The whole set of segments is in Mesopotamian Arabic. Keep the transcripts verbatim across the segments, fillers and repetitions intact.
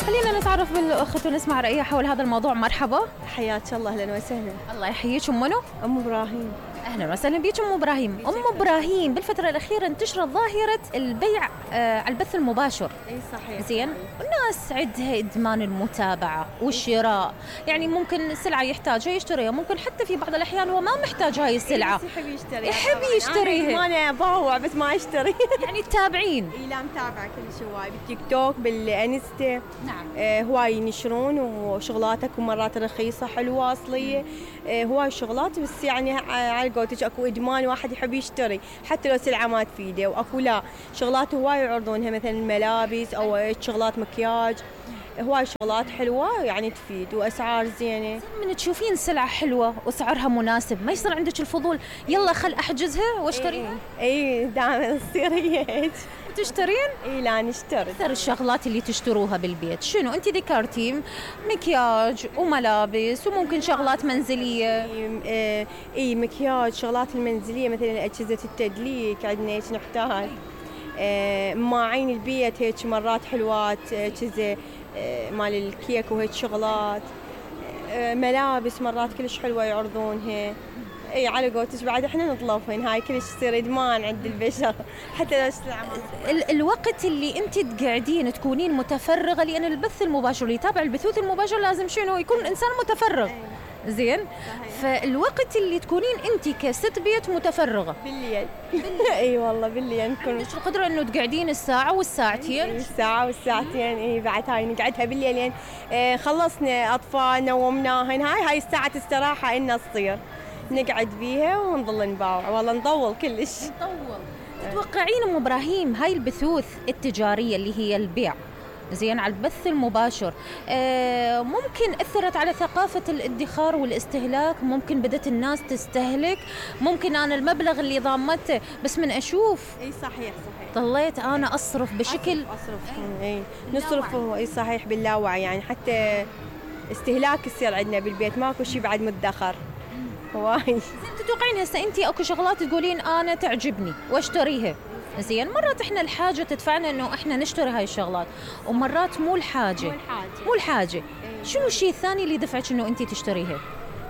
خلينا نتعرف بالأخت ونسمع رأيها حول هذا الموضوع. مرحبا. حياك الله، اهلا وسهلا. الله يحييك. ام منو؟ ام ابراهيم. اهلا وسهلا بيك ام ابراهيم. ام ابراهيم، بالفتره الاخيره انتشرت ظاهره البيع آه على البث المباشر. اي صحيح. زين، والناس عندها ادمان المتابعه والشراء، يعني ممكن سلعه يحتاجها يشتريها، ممكن حتى في بعض الاحيان هو ما محتاج هاي السلعه، يحب يشتريها، يحب يشتريها. ما انا اباوع بس ما اشتري. يعني تتابعين؟ اي لا، متابعه كل شيء هواي بالتيك توك بالانستا. نعم. آه هواي ينشرون وشغلاتك ومرات رخيصه حلوه اصليه. آه هواي شغلات، بس يعني على قولتك اكو ادمان، واحد يحب يشتري حتى لو سلعه ما تفيده، واكو لا شغلات هواي يعرضونها مثلا ملابس او شغلات مكياج، هواي شغلات حلوه يعني تفيد واسعار زينه. من تشوفين سلعه حلوه وسعرها مناسب ما يصير عندك الفضول يلا خل احجزها واشتريها؟ اي دائما تصير هيك. تشترين؟ اي لا نشتري. اكثر الشغلات اللي تشتروها بالبيت شنو؟ انت ذكرتي مكياج وملابس وممكن شغلات منزليه. اي, إيه مكياج، شغلات المنزليه مثلا اجهزه التدليك عندنا هيك نحتاج. آه ماعين البيت هيك مرات حلوات، اجهزه آه مال الكيك وهيك شغلات. آه ملابس مرات كلش حلوه يعرضونها. اي على قولتك بعد احنا نطلبهن، هاي كلش تصير ادمان عند البشر حتى لو سلعه. ال- الوقت اللي انت تقعدين تكونين متفرغه، لان البث المباشر اللي يتابع البثوث المباشر لازم شنو يكون انسان متفرغ. أي. زين. صحيح. فالوقت اللي تكونين انت كست بيت متفرغه بالليل. اي والله بالليل نكون. عندك القدره انه تقعدين الساعه والساعتين. الساعه والساعتين. اي بعد هاي نقعدها بالليل يعني. آه خلصنا اطفال نومناهن، هاي هاي الساعه استراحه إلنا تصير نقعد بيها ونظل نباوع، والله نطول كلش. نطول. تتوقعين ام ابراهيم هاي البثوث التجاريه اللي هي البيع زين على البث المباشر آه ممكن اثرت على ثقافه الادخار والاستهلاك؟ ممكن بدت الناس تستهلك؟ ممكن انا المبلغ اللي ضامته بس من اشوف اي صحيح صحيح ضليت انا اصرف بشكل اصرف, أصرف. اي نصرف. اي صحيح باللاوعي، يعني حتى استهلاك يصير عندنا بالبيت، ماكو شيء بعد مدخر هواي. زين، تتوقعين هسه انت اكو شغلات تقولين انا تعجبني واشتريها؟ زين، مرات احنا الحاجه تدفعنا انه احنا نشتري هاي الشغلات، ومرات مو الحاجه. مو الحاجه. مو الحاجه. شنو الشيء الثاني اللي دفعك انه انت تشتريها؟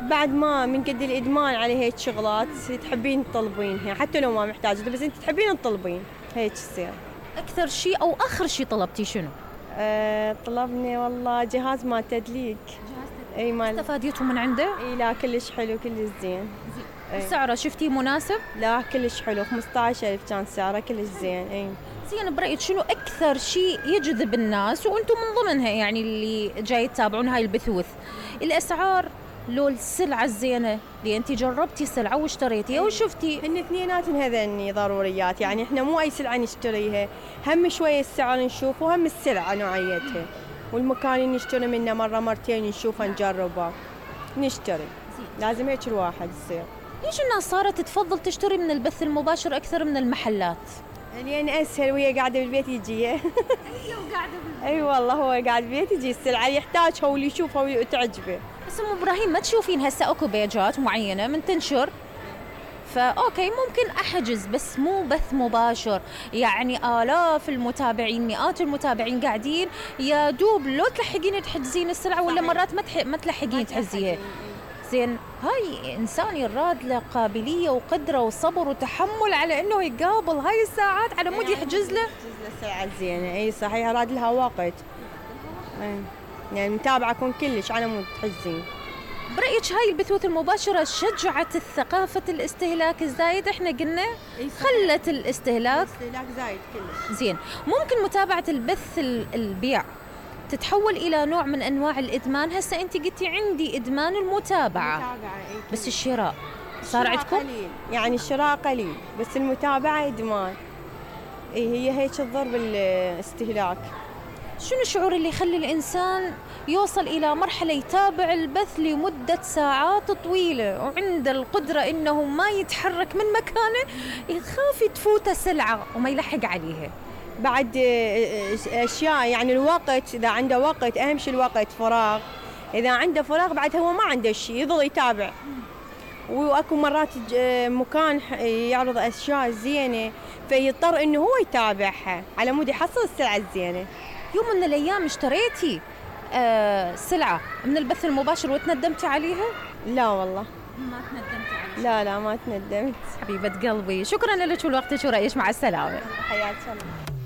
بعد ما من قد الادمان على هيك شغلات تحبين تطلبينها حتى لو ما محتاجه، بس انت تحبين تطلبين هيك يصير. اكثر شيء او اخر شيء طلبتي شنو؟ أه طلبني والله جهاز مال تدليك. اي مال. استفاديتوا من عنده؟ اي لا كلش حلو كلش زين. سعره شفتيه مناسب؟ لا كلش حلو، خمسة عشر ألف كان سعره كلش زين. اي زين، برأيك شنو أكثر شيء يجذب الناس وأنتم من ضمنها يعني اللي جاي تتابعون هاي البثوث؟ الأسعار لو السلعة الزينة اللي أنت جربتي سلعة واشتريتيها وشفتي؟ هن اثنيناتن هذني ضروريات، يعني احنا مو أي سلعة نشتريها، هم شوية السعر نشوف وهم السلعة نوعيتها والمكان اللي نشتري منه مرة مرتين نشوفها نجربها نشتري. لازم هيك الواحد يصير. ليش الناس صارت تفضل تشتري من البث المباشر أكثر من المحلات؟ لأن أسهل وهي قاعدة بالبيت يجيها. أي والله هو قاعد بالبيت يجي السلعة يحتاجها واللي يشوفها وتعجبه. بس أم إبراهيم ما تشوفين هسه أكو بيجات معينة من تنشر فأوكي ممكن أحجز، بس مو بث مباشر، يعني آلاف المتابعين مئات المتابعين قاعدين يا دوب لو تلحقين تحجزين السلعة ولا مرات ما تح... ما تلحقين تحجزيها. زين، هاي إنسان يراد له قابلية وقدرة وصبر وتحمل على إنه يقابل هاي الساعات على مود يحجز له. يحجز له ساعة زينة. أي صحيح، راد لها وقت. أي يعني متابعة كون كلش على مود تحجزين. برأيك هاي البثوث المباشرة شجعت الثقافة الاستهلاك الزايد؟ احنا قلنا خلت الاستهلاك الاستهلاك زايد كلش. زين، ممكن متابعة البث البيع تتحول إلى نوع من أنواع الإدمان؟ هسه أنت قلتي عندي إدمان المتابعة. المتابعة بس الشراء صار عندكم؟ قليل، يعني الشراء قليل بس المتابعة إدمان. إيه هي هيك تضر بالاستهلاك. شنو الشعور اللي يخلي الإنسان يوصل إلى مرحلة يتابع البث لمدة ساعات طويلة وعنده القدرة إنه ما يتحرك من مكانه، يخاف تفوته سلعة وما يلحق عليها؟ بعد أشياء يعني الوقت، إذا عنده وقت أهم شيء الوقت، فراغ، إذا عنده فراغ بعد هو ما عنده شيء يظل يتابع. وأكو مرات مكان يعرض أشياء زينة فيضطر إنه هو يتابعها على مود يحصل السلعة الزينة، يوم من الايام اشتريتي آه سلعه من البث المباشر وتندمتي عليها؟ لا والله ما تندمتي عليها؟ لا لا ما تندمت. حبيبه قلبي، شكرا لك ولوقتك ورأيك، مع السلامه. حياك الله.